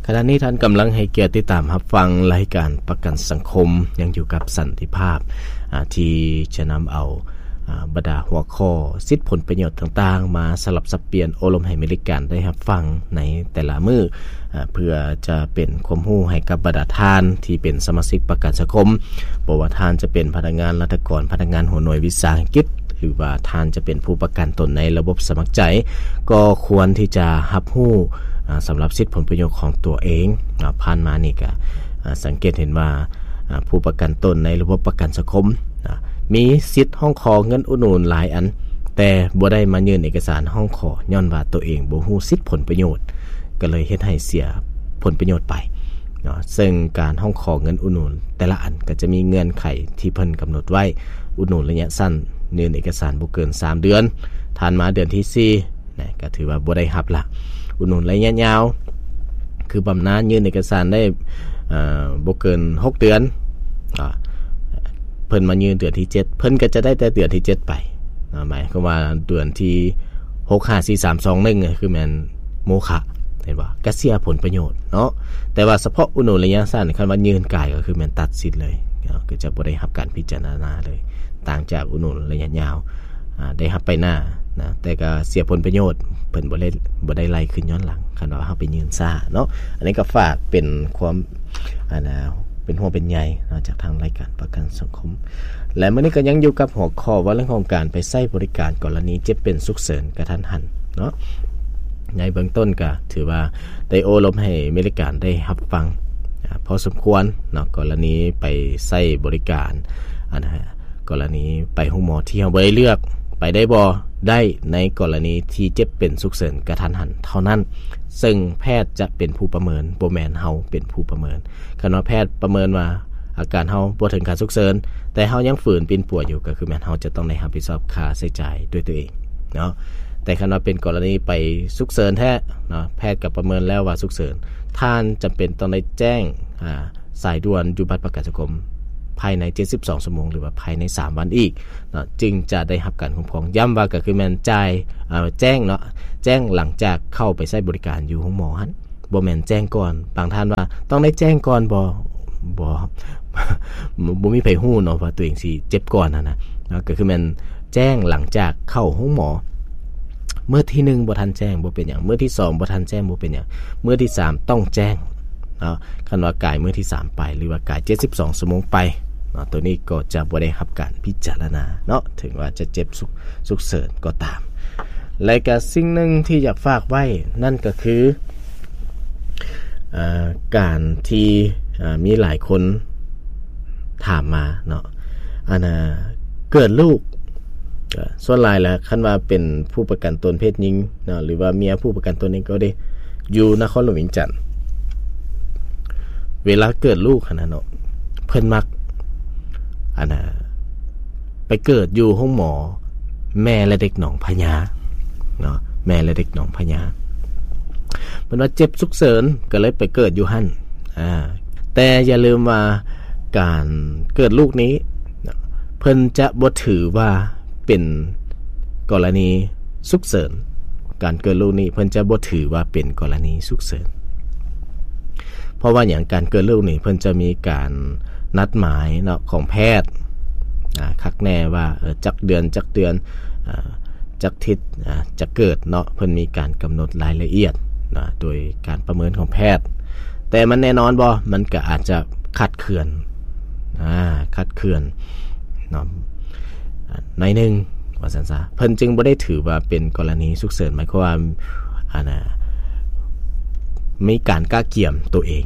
ຂະນະນີ້ທ່ານກຳລັງໃຫ້ກຽດຕິດຕາມຮັບຟັງລາຍການປະກັນສັງຄົມ ຍັງຢູ່ກັບສັນຕິພາບ ອາ ທີ່ຈະນຳເອົາ ອາ ບັນດາຫົວຂໍ້ສິດຜົນປະໂຫຍດຕ່າງໆ ມາສະຫຼັບສັບປ່ຽນໂອ້ລົມໃຫ້ບໍລິການໄດ້ຮັບຟັງໃນແຕ່ລະມື້ ອາ ເພື່ອຈະເປັນຄວາມຮູ້ໃຫ້ກັບບັນດາທ່ານທີ່ເປັນສະມາຊິກປະກັນສັງຄົມ, ບໍ່ວ່າທ່ານຈະເປັນພະນັກງານລັດຖະກອນ, ພະນັກງານຫົວໜ່ວຍວິສາຫະກິດ ຫຼືວ່າທ່ານຈະເປັນຜູ້ປະກັນຕົນໃນລະບົບສະໝັກໃຈ ກໍຄວນທີ່ຈະຮັບຮູ້ ອາ ສຳລັບສິດຜົນປະໂຫຍດຂອງຕົວເອງເນາະ. ຜ່ານມານີ້ກະ ອາ ສັງເກດເຫັນວ່າ ອາ ຜູ້ປະກັນຕົນໃນລະບົບປະກັນສັງຄົມ ອາ ມີສິດຮ້ອງຂໍເງິນອຸດໜູນຫຼາຍອັນ ແຕ່ບໍ່ໄດ້ມາຍື່ນເອກະສານຮ້ອງຂໍ ຍ້ອນວ່າຕົວເອງບໍ່ຮູ້ສິດຜົນປະໂຫຍດ ກໍເລີຍເຮັດໃຫ້ເສຍຜົນປະໂຫຍດໄປເນາະ. ເຊິ່ງການຮ້ອງຂໍເງິນອຸດໜູນແຕ່ລະອັນກໍຈະມີເງື່ອນໄຂທີ່ເພິ່ນກຳນົດໄວ້, ອຸດໜູນໄລຍະສັ້ນ ຍື່ນເອກະສານບໍ່ເກີນສາມເດືອນ, ຖັດມາເດືອນທີສີ່ນະ ກໍຖືວ່າບໍ່ໄດ້ຮັບລະ. ອຸດໜູນໄລຍະຍາວ ຄືບຳນານຍື່ນເອກະສານໄດ້ ເອີ ບໍ່ເກີນຫົກເດືອນ ອາ ເພິ່ນມາຍື່ນເດືອນທີເຈັດ ເພິ່ນກໍຈະໄດ້ແຕ່ເດືອນທີເຈັດໄປເນາະ. ໝາຍຄວາມວ່າເດືອນທີຫົກ ຫ້າ ສີ່ ສາມ ສອງ ໜຶ່ງ ກໍຄືແມ່ນໂມຄະ ເຫັນບໍ່? ກະເສຍຜົນປະໂຫຍດເນາະ. ແຕ່ວ່າສະເພາະອຸດໜູນໄລຍະສັ້ນ ຄັນວ່າຍື່ນກາຍກໍຄືແມ່ນຕັດສິດເລີຍເນາະ, ກໍຈະບໍ່ໄດ້ຮັບການພິຈາລະນາເລີຍ, ຕ່າງຈາກອຸດໜູນໄລຍະຍາວ ອາ ໄດ້ຮັບໄປໜ້ານະ ແຕ່ກໍເສຍຜົນປະໂຫຍດ, ເພິ່ນບໍ່ໄດ້ ບໍ່ໄດ້ໄລ່ຄືນຍ້ອນຫຼັງ ຄັນວ່າເຮົາໄປຍື່ນຊ້າເນາະ. ອັນນີ້ກໍຝາກເປັນຄວາມ ອັນນະ ເປັນຫ່ວງເປັນໃຍເນາະ ຈາກທາງລາຍການປະກັນສັງຄົມ. ແລະ ມື້ນີ້ກໍຍັງຢູ່ກັບຫົວຂໍ້ວ່າເລື່ອງຂອງການໄປໃຊ້ບໍລິການກໍລະນີເຈັບເປັນສຸກເສີນກະທັນຫັນເນາະ. ໃນເບື້ອງຕົ້ນກໍຖືວ່າໄດ້ໂອ້ລົມໃຫ້ບໍລິການໄດ້ຮັບຟັງ ອາ ພໍສົມຄວນເນາະ, ກໍລະນີໄປໃຊ້ບໍລິການ ອັນນະ ກໍລະນີໄປໂຮງໝໍທີ່ເຮົາບໍ່ໄດ້ເລືອກ ໄປໄດ້ບໍ່? ໄດ້ ໃນກໍລະນີທີ່ເຈັບເປັນສຸກເສີນກະທັນຫັນເທົ່ານັ້ນ, ເຊິ່ງແພດຈະເປັນຜູ້ປະເມີນ, ບໍ່ແມ່ນເຮົາເປັນຜູ້ປະເມີນ. ຄັນວ່າແພດປະເມີນວ່າອາການເຮົາບໍ່ເຖິງຂັ້ນສຸກເສີນ ແຕ່ເຮົາຍັງຝືນປິ່ນປົວຢູ່ ກໍຄືແມ່ນເຮົາຈະຕ້ອງໄດ້ຮັບຜິດຊອບຄ່າໃຊ້ຈ່າຍດ້ວຍຕົວເອງເນາະ. ແຕ່ຄັນວ່າເປັນກໍລະນີໄປສຸກເສີນແທ້ເນາະ, ແພດກໍປະເມີນແລ້ວວ່າສຸກເສີນ, ທ່ານຈຳເປັນຕ້ອງໄດ້ແຈ້ງ ອາ ສາຍດ່ວນຢູ່ບັດປະກັນສັງຄົມພາຍໃນເຈັດສິບສອງຊົ່ວໂມງ ຫຼືວ່າພາຍໃນສາມວັນອີກເນາະ ຈຶ່ງຈະໄດ້ຮັບການຄຸ້ມຄອງ. ຢ້ຳວ່າກໍຄືແມ່ນຈ່າຍ ເອີ ແຈ້ງເນາະ, ແຈ້ງຫຼັງຈາກເຂົ້າໄປໃຊ້ບໍລິການຢູ່ໂຮງໝໍຫັ້ນ, ບໍ່ແມ່ນແຈ້ງກ່ອນ. ບາງທ່ານວ່າຕ້ອງໄດ້ແຈ້ງກ່ອນບໍ່? ບໍ່ ບໍ່ມີໃຜຮູ້ເນາະວ່າຕົວເອງຊິເຈັບກ່ອນຫັ້ນນະເນາະ, ກໍຄືແມ່ນແຈ້ງຫຼັງຈາກເຂົ້າໂຮງໝໍ. ມື້ທີໜຶ່ງບໍ່ທັນແຈ້ງບໍ່ເປັນຫຍັງ, ມື້ທີສອງບໍ່ທັນແຈ້ງບໍ່ເປັນຫຍັງ, ມື້ທີສາມຕ້ອງແຈ້ງເນາະ. ຄັນວ່າກາຍມື້ທີສາມໄປ ຫຼືວ່າກາຍເຈັດສິບສອງຊົ່ວໂມງໄປເນາະ, ໂຕນີ້ກໍຈະບໍ່ໄດ້ຮັບການພິຈາລະນາເນາະ, ເຖິງວ່າຈະເຈັບສຸກ ສຸກເສີນກໍຕາມ. ແລະກະສິ່ງໜຶ່ງທີ່ຢາກຝາກໄວ້ນັ້ນກໍຄື ເອີ ການທີ່ ເອີ ມີຫຼາຍຄົນ ຖາມມາເນາະ ອັນນະ ເກີດລູກ ເອີ ສ່ວນຫຼາຍແລ້ວ ຄັນວ່າເປັນຜູ້ປະກັນຕົນເພດຍິງເນາະ ຫຼືວ່າເມຍຜູ້ປະກັນຕົນເອງກໍດີ ຢູ່ນະຄອນຫຼວງວຽງຈັນ ເວລາເກີດລູກຫັ້ນນະເນາະ ເພິ່ນມັກ ອັນນະ ໄປເກີດຢູ່ໂຮງໝໍແມ່ແລະເດັກໜອງພະຍາເນາະ ແມ່ແລະເດັກໜອງພະຍາ ເພິ່ນວ່າເຈັບສຸກເສີນ ກໍເລີຍໄປເກີດຢູ່ຫັ້ນ. ອາ ແຕ່ຢ່າລືມວ່າການເກີດລູກນີ້ ເພິ່ນຈະບໍ່ຖືວ່າເປັນກໍລະນີສຸກເສີນ. ການເກີດລູກນີ້ເພິ່ນຈະບໍ່ຖືວ່າເປັນກໍລະນີສຸກເສີນ. ເພາະວ່າຫຍັງ? ການເກີດລູກນີ້ເພິ່ນຈະມີການນັດໝາຍເນາະ ຂອງແພດ ອາ ຄັກແນ່ວ່າ ເອີ ຈັກເດືອນ ຈັກເດືອນ ອາ ຈັກທິດ ອາ ຈະເກີດເນາະ ເພິ່ນມີການກຳນົດລາຍລະອຽດນະ ໂດຍການປະເມີນຂອງແພດ. ແຕ່ມັນແນ່ນອນບໍ່? ມັນກະອາດຈະຄາດເຄື່ອນ ອາ ຄາດເຄື່ອນເນາະ ອາ ໜ້ອຍໜຶ່ງວ່າຊັ້ນຊະ ເພິ່ນຈຶ່ງບໍ່ໄດ້ຖືວ່າເປັນກໍລະນີສຸກເສີນ ໝາຍຄວາມວ່າ ອັນນະ ມີການກະກຽມຕົວເອງ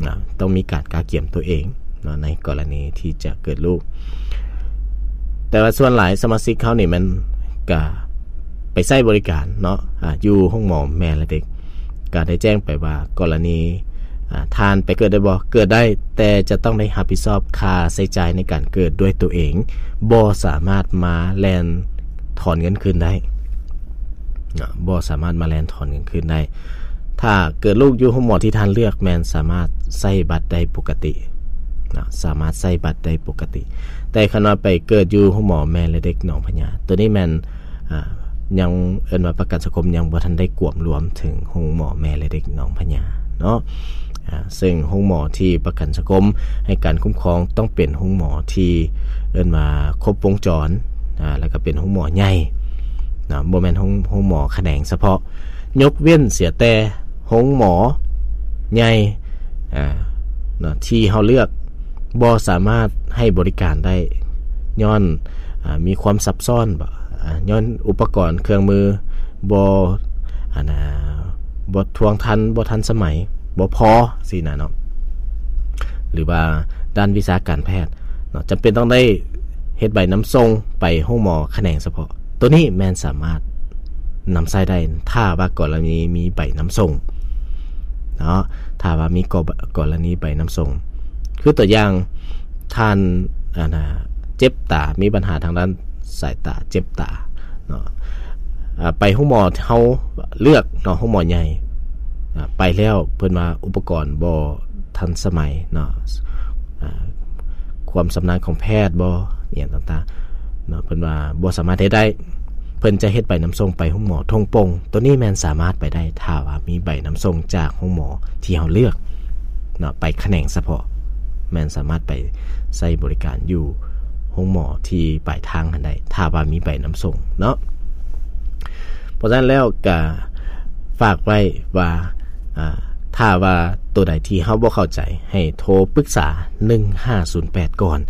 ນະ ຕ້ອງມີການກະກຽມຕົວເອງເນາະ ໃນກໍລະນີທີ່ຈະເກີດລູກ. ແຕ່ວ່າສ່ວນຫຼາຍສະມາຊິກເຮົານີ້ແມ່ນກະໄປໃຊ້ບໍລິການເນາະ ອາ ຢູ່ໂຮງໝໍແມ່ແລະເດັກ ກະໄດ້ແຈ້ງໄປວ່າ ກໍລະນີ ອາ ທ່ານໄປເກີດໄດ້ບໍ່? ເກີດໄດ້ ແຕ່ຈະຕ້ອງໄດ້ຮັບຜິດຊອບຄ່າໃຊ້ຈ່າຍໃນການເກີດດ້ວຍຕົວເອງ ບໍ່ສາມາດມາແລ່ນຖອນເງິນຄືນໄດ້ນະ ບໍ່ສາມາດມາແລ່ນຖອນເງິນຄືນໄດ້. ຖ້າເກີດລູກຢູ່ໂຮງໝໍທີ່ທ່ານເລືອກ ແມ່ນສາມາດໃຊ້ບັດໄດ້ປົກກະຕິນະ ສາມາດໃຊ້ບັດໄດ້ປົກກະຕິ. ແຕ່ຄັນວ່າໄປເກີດຢູ່ໂຮງໝໍແມ່ແລະເດັກໜອງພະຍາ ໂຕນີ້ແມ່ນ ອາ ຍັງເອີ້ນວ່າປະກັນສັງຄົມຍັງບໍ່ທັນໄດ້ກວມລວມເຖິງໂຮງໝໍແມ່ແລະເດັກໜອງພະຍາ ເນາະ ອາ ເຊິ່ງໂຮງໝໍທີ່ປະກັນສັງຄົມໃຫ້ການຄຸ້ມຄອງ ຕ້ອງເປັນໂຮງໝໍທີ່ເອີ້ນວ່າຄົບວົງຈອນ ອາ ແລ້ວກໍເປັນໂຮງໝໍໃຫຍ່ເນາະ ບໍ່ແມ່ນໂຮງ ໂຮງໝໍຂະແໜງສະເພາະ ຍົກເວັ້ນເສຍແຕ່ໂຮງໝໍໃຫຍ່ ອາ ເນາະ ທີ່ເຮົາເລືອກບໍ່ສາມາດໃຫ້ບໍລິການໄດ້ ຍ້ອນ ອາ ມີຄວາມຊັບຊ້ອນ ອາ ຍ້ອນອຸປະກອນເຄື່ອງມືບໍ່ ອັນນ່າ ບໍ່ທວງທັນ ບໍ່ທັນສະໄໝ ບໍ່ພໍຊີ້ນະເນາະ ຫຼືວ່າດ້ານວິຊາການແພດເນາະ ຈຳເປັນຕ້ອງໄດ້ເຮັດໃບນຳສົ່ງໄປໂຮງໝໍຂະແໜງສະເພາະ ໂຕນີ້ແມ່ນສາມາດນຳໃຊ້ໄດ້ ຖ້າວ່າກໍລະນີມີໃບນຳສົ່ງເນາະ ຖ້າວ່າມີກໍ ກໍລະນີໃບນຳສົ່ງ ຄືຕົວຢ່າງ ທ່ານ ອັນນ່າ ເຈັບຕາ ມີບັນຫາທາງດ້ານສາຍຕາ ເຈັບຕາເນາະ ອາ ໄປໂຮງໝໍເຮົາເລືອກເນາະ ໂຮງໝໍໃຫຍ່ ອາ ໄປແລ້ວເພິ່ນວ່າອຸປະກອນບໍ່ທັນສະໄໝເນາະ ອາ ຄວາມຊຳນານຂອງແພດບໍ່ ອີ່ຫຍັງຕ່າງໆເນາະ ເພິ່ນວ່າບໍ່ສາມາດເຮັດໄດ້ ເພິ່ນຈະເຮັດໃບນຳສົ່ງໄປໂຮງໝໍທົ່ງໂປ່ງ ໂຕນີ້ແມ່ນສາມາດໄປໄດ້ ຖ້າວ່າມີໃບນຳສົ່ງຈາກໂຮງໝໍທີ່ເຮົາເລືອກເນາະ ໄປຂະແໜງສະເພາະ ແມ່ນສາມາດໄປໃຊ້ບໍລິການຢູ່ໂຮງໝໍທີ່ປາຍທາງຫັ້ນໄດ້ ຖ້າວ່າມີໃບນຳສົ່ງເນາະ. ເພາະສະນັ້ນແລ້ວກະຝາກໄວ້ວ່າ ອາ ຖ້າວ່າໂຕໃດທີ່ເຮົາບໍ່ເຂົ້າໃຈ ໃຫ້ໂທປຶກສາໜຶ່ງຫ້າສູນແປດກ່ອນ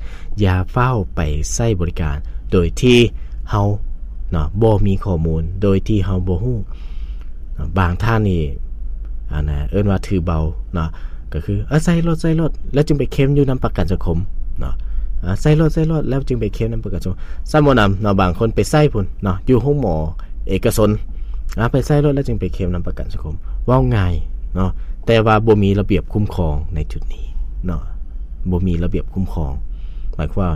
ຢ່າຟ້າວໄປໃຊ້ບໍລິການໂດຍທີ່ເຮົາເນາະ ບໍ່ມີຂໍ້ມູນ ໂດຍທີ່ເຮົາບໍ່ຮູ້. ບາງທ່ານນີ້ ອັນນ່າ ເອີ້ນວ່າຖືເບົາເນາະ ກໍຄື ເອີ ໃຊ້ໂລດ ໃຊ້ໂລດ ແລ້ວຈຶ່ງໄປເຄມຢູ່ນຳປະກັນສັງຄົມເນາະ ອາ ໃຊ້ໂລດ ໃຊ້ໂລດ ແລ້ວຈຶ່ງໄປເຄມນຳປະກັນສັງຄົມ. ຊ້ຳບໍ່ໜຳເນາະ ບາງຄົນໄປໃຊ້ພຸ້ນເນາະ ຢູ່ໂຮງໝໍເອກະຊົນ ອາ ໄປໃຊ້ໂລດ ແລ້ວຈຶ່ງໄປເຄມນຳປະກັນສັງຄົມ. ເວົ້າງ່າຍເນາະ ແຕ່ວ່າບໍ່ມີລະບຽບຄຸ້ມຄອງໃນຈຸດນີ້ເນາະ ບໍ່ມີລະບຽບຄຸ້ມຄອງ ໝາຍຄວາມວ່າ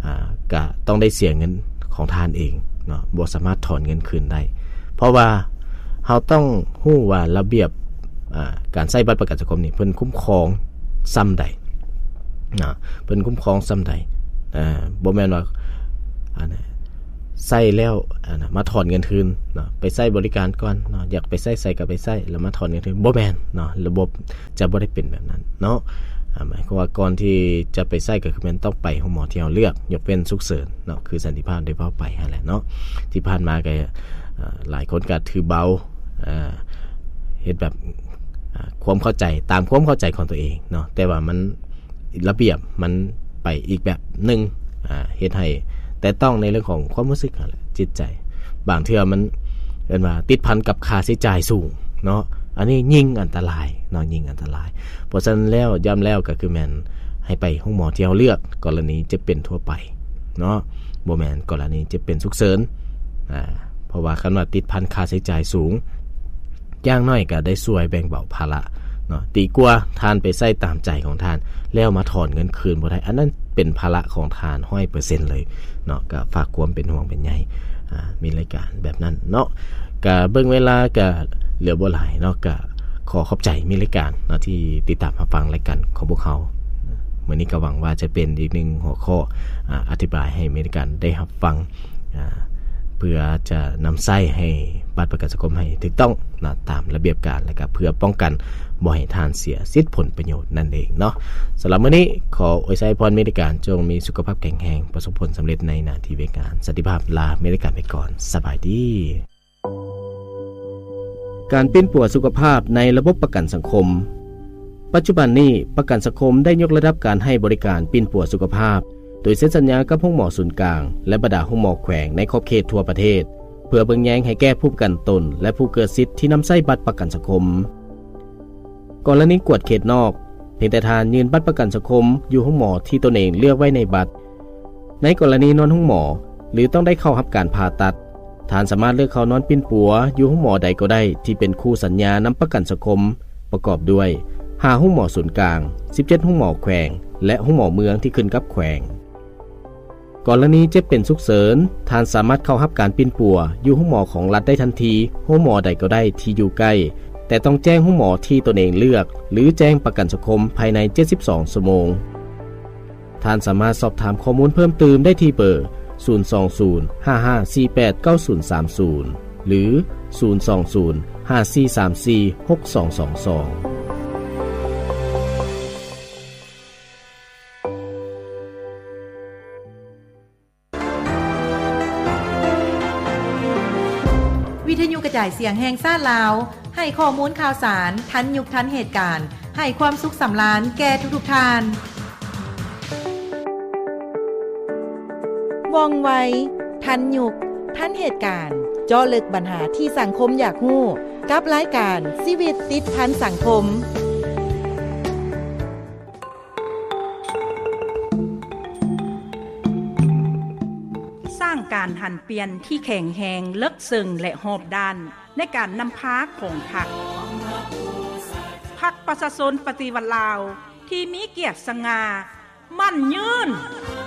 ອາ ກະຕ້ອງໄດ້ເສຍເງິນຂອງທ່ານເອງເນາະ ບໍ່ສາມາດຖອນເງິນຄືນໄດ້ ເພາະວ່າເຮົາຕ້ອງຮູ້ວ່າລະບຽບ ອາ ການໃຊ້ບັດປະກັນສັງຄົມນີ້ ເພິ່ນຄຸ້ມຄອງຊ່ຳໃດເນາະ ເພິ່ນຄຸ້ມຄອງຊ່ຳໃດ ອາ ບໍ່ແມ່ນວ່າ ອັນ ໃຊ້ແລ້ວ ອັນ ມາຖອນເງິນຄືນເນາະ ໄປໃຊ້ບໍລິການກ່ອນເນາະ ຢາກໄປໃຊ້ໃສກໍໄປໃຊ້ ແລ້ວມາຖອນເງິນຄືນ ບໍ່ແມ່ນເນາະ ລະບົບຈະບໍ່ໄດ້ເປັນແບບນັ້ນເນາະ. ອາ ໝາຍຄວາມວ່າກ່ອນທີ່ຈະໄປໃຊ້ ກໍຄືແມ່ນຕ້ອງໄປໂຮງໝໍທີ່ເຮົາເລືອກ ຍົກເວັ້ນສຸກເສີນເນາະ ຄືສັນຕິພາບໄດ້ເວົ້າໄປຫັ້ນແຫຼະເນາະ ທີ່ຜ່ານມາກໍ ອາ ຫຼາຍຄົນກໍຖືເບົາ ອາ ເຮັດແບບ ອາ ຄວາມເຂົ້າໃຈ ຕາມຄວາມເຂົ້າໃຈຂອງຕົວເອງເນາະ ແຕ່ວ່າມັນ ລະບຽບມັນໄປອີກແບບໜຶ່ງ ອາ ເຮັດໃຫ້ແຕະຕ້ອງໃນເລື່ອງຂອງຄວາມຮູ້ສຶກຫັ້ນແຫຼະ ຈິດໃຈ ບາງເທື່ອມັນເອີ້ນວ່າຕິດພັນກັບຄ່າໃຊ້ຈ່າຍສູງເນາະ ອັນນີ້ຍິ່ງອັນຕະລາຍເນາະ ຍິ່ງອັນຕະລາຍ. ເພາະສະນັ້ນແລ້ວ ຢ້ຳແລ້ວກໍຄືແມ່ນໃຫ້ໄປໂຮງໝໍທີ່ເຮົາເລືອກ ກໍລະນີເຈັບເປັນທົ່ວໄປເນາະ ບໍ່ແມ່ນກໍລະນີເຈັບເປັນສຸກເສີນ ອາ ເພາະວ່າຄັນວ່າຕິດພັນຄ່າໃຊ້ຈ່າຍສູງ ຢ່າງໜ້ອຍກໍໄດ້ຊ່ວຍແບ່ງເບົາພາລະເນາະ ດີກວ່າທ່ານໄປໃຊ້ຕາມໃຈຂອງທ່ານ ແລ້ວມາຖອນເງິນຄືນບໍ່ໄດ້ ອັນນັ້ນເປັນພາລະຂອງທ່ານຮ້ອຍເປີເຊັນເລີຍເນາະ. ກໍຝາກຄວາມເປັນຫ່ວງເປັນໃຍ ອາ ມີລາຍການແບບນັ້ນເນາະ ກໍເບິ່ງເວລາກໍເຫຼືອບໍ່ຫຼາຍເນາະ ກໍຂໍຂອບໃຈມີລາຍການເນາະ ທີ່ຕິດຕາມຮັບຟັງລາຍການຂອງພວກເຮົາ. ມື້ນີ້ກໍຫວັງວ່າຈະເປັນອີກໜຶ່ງຫົວຂໍ້ ອາ ອະທິບາຍໃຫ້ມີລາຍການໄດ້ຮັບຟັງ ອາ ເພື່ອຈະນຳໃຊ້ໃຫ້ບັດປະກັນສັງຄົມໃຫ້ຖືກຕ້ອງນະ ຕາມລະບຽບການ ແລະກະເພື່ອປ້ອງກັນບໍ່ໃຫ້ທ່ານເສຍສິດຜົນປະໂຫຍດນັ້ນເອງເນາະ. ສຳລັບມື້ນີ້ ຂໍອວຍໄຊພອນມີແຕ່ການຈົ່ງມີສຸຂະພາບແຂງແຮງ, ປະສົບຜົນສຳເລັດໃນໜ້າທີ່ວຽກງານ. ສັນຕິພາບ ລາມີແຕ່ການໄປກ່ອນ. ສະບາຍດີ. ການປິ່ນປົວສຸຂະພາບໃນລະບົບປະກັນສັງຄົມ. ປັດຈຸບັນນີ້ ປະກັນສັງຄົມໄດ້ຍົກລະດັບການໃຫ້ບໍລິການປິ່ນປົວສຸຂະພາບ ໂດຍເຊັນສັນຍາກັບໂຮງໝໍສູນກາງ ແລະ ບັນດາໂຮງໝໍແຂວງໃນຂອບເຂດທົ່ວປະເທດ ເພື່ອເບິ່ງແຍງໃຫ້ແກ່ຜູ້ປະກັນຕົນ ແລະ ຜູ້ເກີດສິດທີ່ນຳໃຊ້ບັດປະກັນສັງຄົມ. ກໍລະນີກວດເຂດນອກ, ພຽງແຕ່ທ່ານຍື່ນບັດປະກັນສັງຄົມຢູ່ໂຮງໝໍທີ່ຕົນເອງເລືອກໄວ້ໃນບັດ. ໃນກໍລະນີນອນໂຮງໝໍ ຫຼື ຕ້ອງໄດ້ເຂົ້າຮັບການຜ່າຕັດ, ທ່ານສາມາດເລືອກເຂົ້ານອນປິ່ນປົວຢູ່ໂຮງໝໍໃດກໍໄດ້ທີ່ເປັນຄູ່ສັນຍານຳປະກັນສັງຄົມ ປະກອບດ້ວຍ ຫ້າໂຮງໝໍສູນກາງ, ສິບເຈັດໂຮງໝໍແຂວງ ແລະ ໂຮງໝໍເມືອງທີ່ຂຶ້ນກັບແຂວງ. ກໍລະນີເຈັບເປັນສຸກເສີນ, ທ່ານສາມາດເຂົ້າຮັບການປິ່ນປົວຢູ່ໂຮງໝໍຂອງລັດໄດ້ທັນທີ, ໂຮງໝໍໃດກໍໄດ້ທີ່ຢູ່ໃກ້, ແຕ່ຕ້ອງແຈ້ງໂຮງໝໍທີ່ຕົນເອງເລືອກ ຫຼື ແຈ້ງປະກັນສັງຄົມພາຍໃນເຈັດສິບສອງຊົ່ວໂມງ. ທ່ານສາມາດສອບຖາມຂໍ້ມູນເພີ່ມຕື່ມໄດ້ທີ່ເບີ ສູນສອງສູນ ຫ້າຫ້າສີ່ແປດ ເກົ້າສູນສາມສູນ ຫຼື ສູນສອງສູນ ຫ້າສີ່ສາມສີ່ ຫົກສອງສອງສອງ. ວິທະຍຸກະຈາຍສຽງແຫ່ງຊາດລາວ ໃຫ້ຂໍ້ມູນຂ່າວສານທັນຍຸກທັນເຫດການ, ໃຫ້ຄວາມສຸກສຳລານແກ່ທຸກໆທ່ານ. ວ່ອງໄວ, ທັນຍຸກ, ທັນເຫດການ, ເຈາະເລິກບັນຫາທີ່ສັງຄົມຢາກຮູ້ ກັບລາຍການຊີວິດຕິດພັນສັງຄົມ. ສ້າງການຫັນປ່ຽນທີ່ແຂງແຮງ, ເລິກເຊິ່ງ ແລະ ຮອບດ້ານ ໃນການນຳພາຂອງພັກ. ພັກປະຊາຊົນປະຕິວັດລາວ ທີ່ມີກຽດສະຫງ່າ, ໝັ້ນຍືນ.